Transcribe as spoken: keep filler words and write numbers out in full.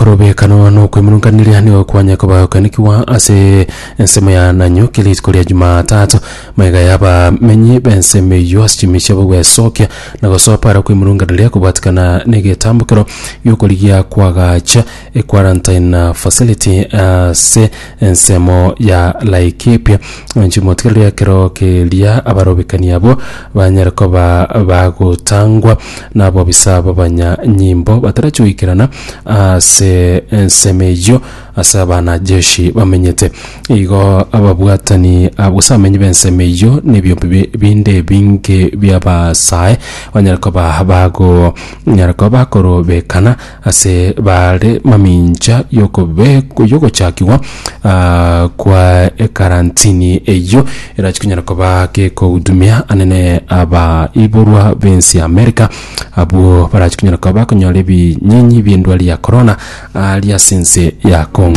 Okorobekano nokwemurunkaneria nigo kwanya kobakonekiwa ase ensemo ya Nanyuki rituko ria Jumatatu, magega y'abamenyi b'ensemo eyio ase chimi chiabo gwesokia na gosoa para kwemurunkaneria kobwatikana na egetambokero giokorigia kwagacha equarantine facility ase ensemo ya Laikipia. Nchimotigereria ekero keria abarobekani abwo banyare koba bagotangwa na abobisa b'abanyanyimbo batarachi goikerana ase ensemo eyio ase abanajeshi bamenyete. Igo ababwatani gose abamenyi b'ensemo eyio na ebiombe binde ebinge bi'abasae banyare koba bagonyara koba bakorobekana ase bare mamincha yogochakigwa kwa ekarantini eyio erachi konyara koba gekohudumia anene abaiborwa b'ense ya America abwo barachi konyara koba bakonyora ebinyinyi bi'endwari ya corona aria ase ense ya Congo.